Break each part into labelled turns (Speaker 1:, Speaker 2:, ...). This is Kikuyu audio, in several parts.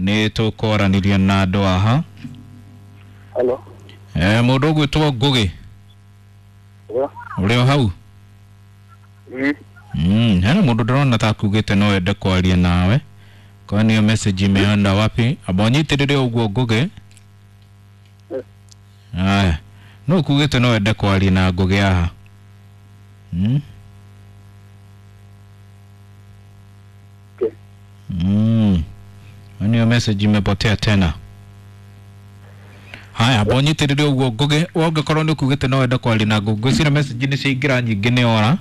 Speaker 1: Nĩ tũkwaranĩria na andũ aha.
Speaker 2: Hello.
Speaker 1: Mũndũ ũgwĩtwo Ngũgĩ.
Speaker 2: Yeah.
Speaker 1: Ũrĩ o hau?
Speaker 2: Mm.
Speaker 1: Hena mũndũ ndĩrona ta akugĩte no ende kwaria nawe. Kwani hiyo message imeenda wapi? Amba ũnyitĩrĩre ũguo Ngũgĩ. Aya. No ukugĩte no ende kwaria na Ngũgĩ haha.
Speaker 2: Okay.
Speaker 1: Kwani hiyo message imepotea tena. Haya, amba ũnyitĩrĩre ũguo Ngũgĩ, ũngĩkorwo nĩ ukugĩte no wende kwaria na Ngũgĩ, ngwĩciria message nĩ ciaingĩra nyingĩ nĩ ora.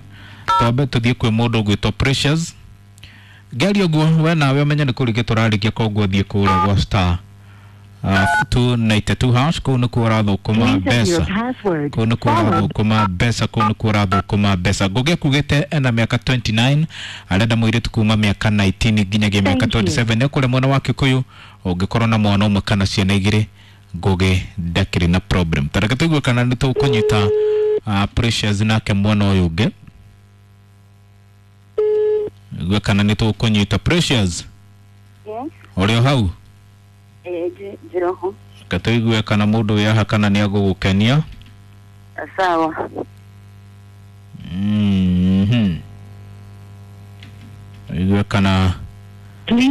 Speaker 1: Twambe tũthiĩ kwĩ mũndũ ũgwĩtwo Precious. Ngĩaria ũguo we nawe ũmenye nĩ kũrĩkia tũrarĩkia, koguo thiĩ kũrĩa gwa star 292 hash, kũu nĩkuo ũrathũkũma mbeca, kũu nĩkuo ũrathũkũma mbeca, kũu nĩkuo ũrathũkũma mbeca. Ngũgĩ akugĩte ena mĩaka 29, arenda mũirĩtu kuma mĩaka 19 nginyagia mĩaka 27, nĩ kũrĩa mwena wa Kikuyu. Ũngĩkorwo na mwana ũmwe kana ciana igĩrĩ, Ngũgĩ ndakĩrĩ na problem. Tareke tũigue kana nĩ tũkũnyita Precious nake mwena ũyũ ũngĩ. Igue kana nĩ tũkũnyita Precious.
Speaker 3: Yes.
Speaker 1: Ũrĩ o hau?
Speaker 3: Njiroho.
Speaker 1: Reke tũigue kana mũndũ wĩ haha kana nĩ agũgũkenia.
Speaker 3: Sawa.
Speaker 1: Igue kana
Speaker 4: Please